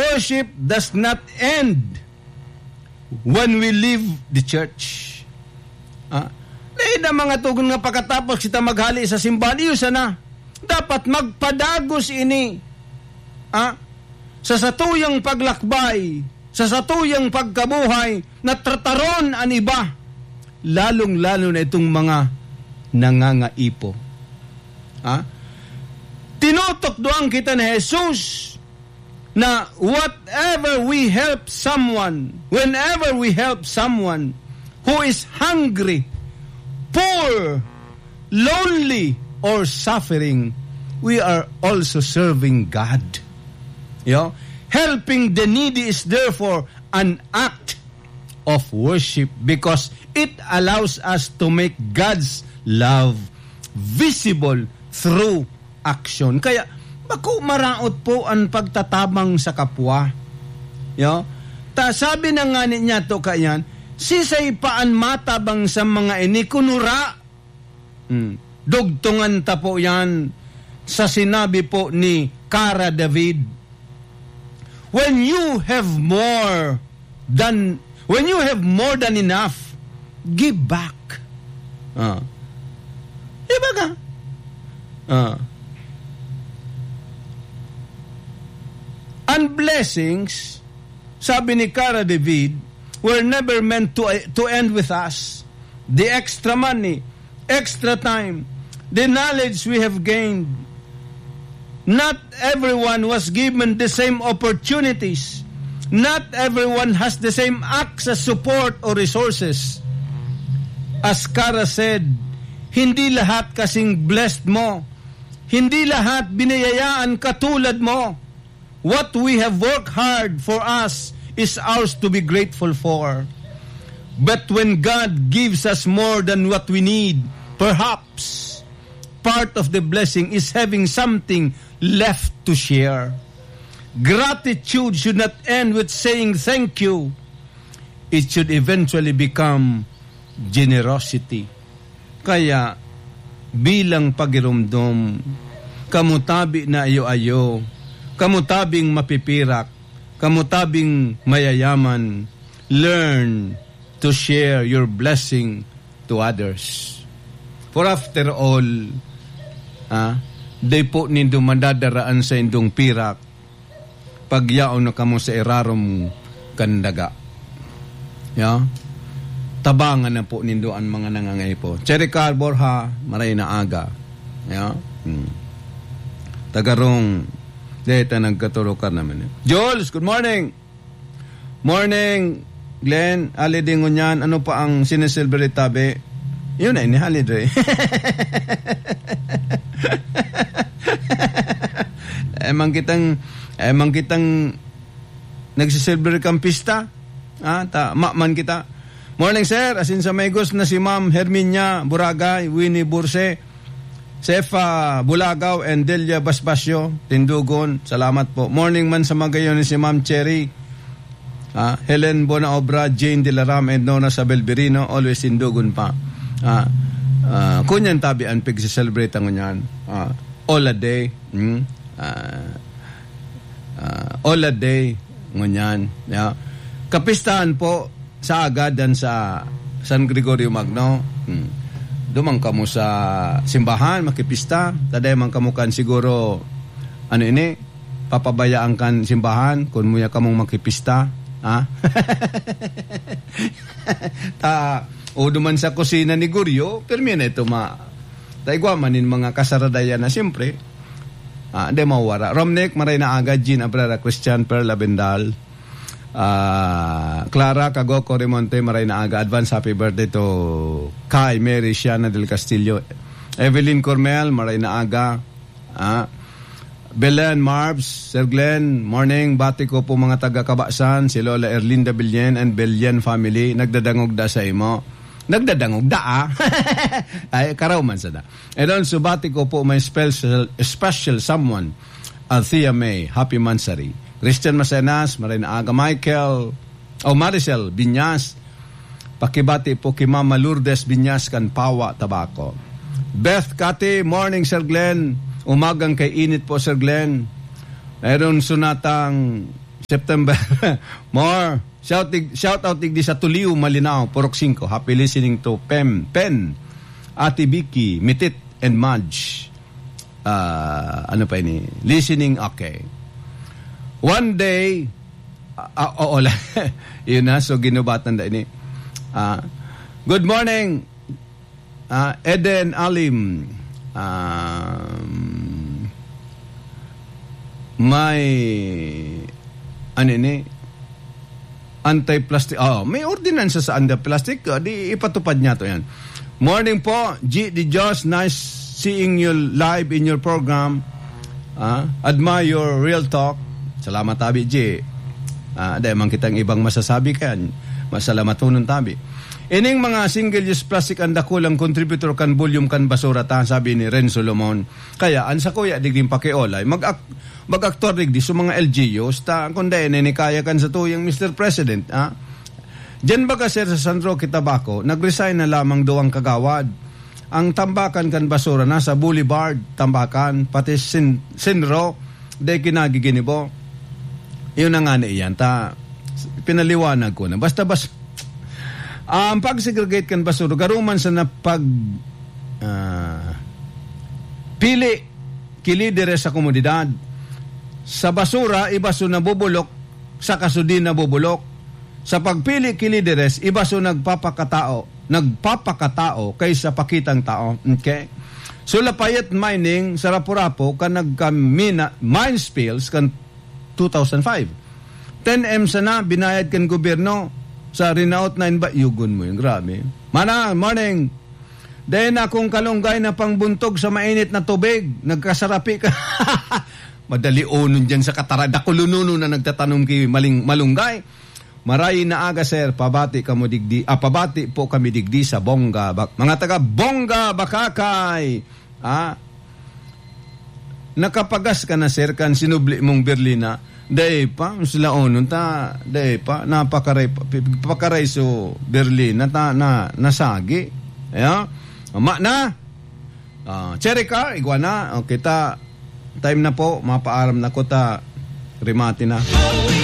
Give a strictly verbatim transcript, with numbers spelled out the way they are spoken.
worship does not end when we leave the church. Ah, dai na mga tugon nga pakatapos kita maghali sa simbahan, iyo sana. Dapat magpadagos ini, ah, sa satuyang paglakbay, sa satuyang pagkabuhay, na trataron an iba, lalong-lalo na itong mga nangangaipo. Ah, tinutukdoan kita ni Jesus na whatever we help someone, whenever we help someone who is hungry, poor, lonely, or suffering, we are also serving God. Yo? Helping the needy is therefore an act of worship because it allows us to make God's love visible through action. Kaya, bako maraot po an pagtatabang sa kapwa. Yo? Ta, sabi na nga niya to kayan, "Sisay pa an matabang sa mga ini kunura?" Hmm. Dugtungan ta po yan sa sinabi po ni Kara David, "When you have more than, when you have more than enough, give back." Ah. Di ba ka? Ah. Ang blessings, sabi ni Kara David, were never meant to, to end with us. The extra money, extra time, the knowledge we have gained. Not everyone was given the same opportunities. Not everyone has the same access, support, or resources. As Kara said, hindi lahat kasing blessed mo. Hindi lahat biniyayaan katulad mo. What we have worked hard for us is ours to be grateful for. But when God gives us more than what we need, perhaps part of the blessing is having something left to share. Gratitude should not end with saying thank you. It should eventually become generosity. Kaya, bilang pagiromdom, kamo tabi na ayo-ayo, kamo tabing mapipirak, kamo tabing mayayaman, learn to share your blessing to others. For after all, ah, dai po nindo madadaraan sa indong pirak pag yaon na kamo sa irarom kan daga. Ya? Tabangan na po nindo an mga nangangaipo. Cherry Car Borja, maray na aga. Ya? Hmm. Tagarong, deta nagkaturukar naman. Jules, good morning! Morning, Glenn. Holiday ngunyan, ano pa ang sineselebrate tabi? Yun na, ini holiday. Eh, man kitang, eh, man kitang nagsiselebrate kang pista. Ah, ta, ma, man kita. Morning, sir. Asin sa may gos na si Ma'am Herminia Buragay, Winnie Burse, Sefa Bulagaw, and Delia Basbasio, Tindugon. Salamat po. Morning man sa magayon ni si Ma'am Cherry. Ah, Helen Bonaobra, Jane Dilaram, and Nona Sabel Birino, always Tindugon pa. Ah, ah, kunyan tabi an pag-celebrate ngunyan. Ah, all a day. Hmm? Ah, ah, all a day. Ngunyan. Ya. Kapistahan po, sa aga dan sa San Gregorio Magno. Hmm. Duman kamo sa simbahan, makipista. Taday man kamo kan siguro, ano ini, papabayaan kan simbahan kun muya kamong makipista. Ha? Ta, o duman sa kusina ni Guryo, pirmi na ito ma-, ta igwa man nin mga kasaradayan na siyempre, ah, di mawara. Romnick, maray na aga, Jean Abrera, Christian, Pearl Abendal, Ah, Clara Cagoco Remonte, maray na aga, advance happy birthday to Kai Mary Shiana del Castillo. Evelyn Cormel, maray na aga. Ah, Belen Marbs, Sir Glenn, morning. Bati ko po mga taga Kabasan, si Lola Erlinda Billen and Billen family. Nagdadangog da sa imo. Nagdadangog da, ah. Ay, karaw man sana. And also, bati ko po may special, special someone. Althea May, happy mansary. Christian Macenas, maray na aga. Michael, o Maricel Binyas, pakibati po ki Mama Lourdes Binyas kan Pawa, Tabaco. Beth Cati, morning, Sir Glenn. Umagang kay init po, Sir Glenn. Mayroon sunatang September. More. Shout, shout out digdi sa Tuliw, Malinao, Purok singko. Happy listening to Pem, Pen, Ate Vicky, Mitit, and Madge. Ah, ano pa ini? Listening, okay. One day, ah, ah, oo lang. Yun na, so ginubatan na ini. Ah, good morning, ah, Eden Alim. Um, may, ano ini? Anti-plastic. Oh, may ordinansa sa anti-plastic. Oh, di ipatupad niya to yan. Morning po, G D Jos. Nice seeing you live in your program. Ah, admire your real talk. Salamat, tabi, G. Ah, dahil man kitang ibang masasabi kan. Masalamaton, tabi. Ining mga single-use plastic ang dakulang contributor kan volume kan basura ta, sabi ni Ren Solomon. Kaya, ang sa kuya, digding pakiolay, mag-ak-, mag-aktor digdi sa mga L G Us, ta, kung dahil na ni kaya kan sa tuyang Mister President, ah? Diyan baga, sir, sa San Roque, Tabaco, nag-resign na lamang duwang kagawad. Ang tambakan kan basura nasa Boulevard, Tambakan, pati Sin-, Sinro, de kinagiginibo. Yun na nga na iyan, ta, pinaliwanag ko na. Basta, bas-, ang pag-segregate kan basura, garuman sa napag-, ah, pili ki lideres sa komunidad. Sa basura, iba so nabubulok, saka so di nabubulok. Sa pagpili ki lideres, iba so nagpapakatao, nagpapakatao kaysa pakitang tao. Okay? So, Lafayette Mining sa Rapu-Rapu kan nagkamina, mine spills kan two thousand five. Ten M sana binayad kan gobyerno sa rinaot na inba-, yugon mo yun, grabe. Mana, morning. Dahil na akong kalunggay na pangbuntog sa mainit na tubig, nagkasarapi ka. Madali onon dyan sa Katara-, dakulununo na nagtatanom ki maling-, malunggay. Maray na aga, sir. Pabati kamo digdi, ah, pabati po kami digdi sa Bongga, Bak-, mga taga Bongga, Bakakay. Ah, nakapagas ka na, sir, kan sinubli mong berlina? Dai pa, sila onon ta, dai pa, napakaray pa, pi-, pakaray so berlina ta, na, nasagi. Ayan. Ama na. Ah, Cherry Car, igwa na. O, kita, time na po, mapaaram na ko ta, rimati na.